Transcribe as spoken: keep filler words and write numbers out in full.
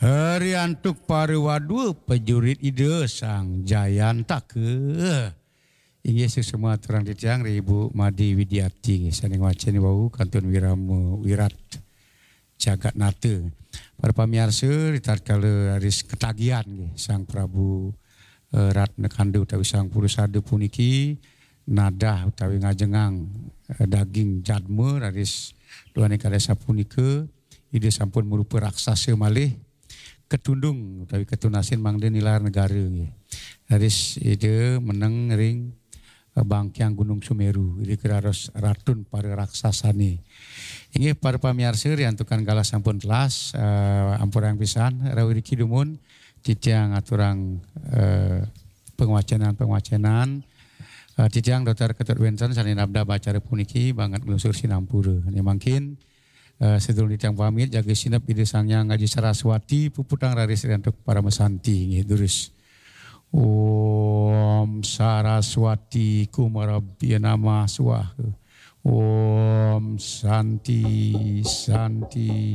Hari antuk para wadua pejurit Ida Sang Jayantaka. Inggih, sesama aturang titiang ri Ibu Made Widiati nggih, sane ngwacen wau kantun wirama wirat jagat nata. Para pamiarsa, ritatkala raris ketagihan nggih Sang Prabu eh, Ratna Kanda utawi Sang Purusada puniki nadah utawi ngajengang eh, daging jadma, raris duaning kade sapunika Ida sampun marupa raksasa malih, ketundung utawi ketunasin mangda nilar negara nggih. Raris Ida meneng ring eh, bangkiang Gunung Sumeru, Ida keraros ratun para raksasane. Inggih, para pamiarsa, riantukan galah sampun telas, eh, ampurang pisan rauh iriki dumun titiang aturang eh, pengwacenan-pengwacenan. Eh, titiang Doktor Ketut Wenten sane nabdab acara puniki banget nglungsur sinampura. Ne mangkin eh, sedurung titiang pamit, jaga sinep Ida Sang Hyang Aji Saraswati, puputang raris riantuk parama santi nggih, durus. Om Saraswati Kumarabhya Namah Swaha. Om Santi, Santi,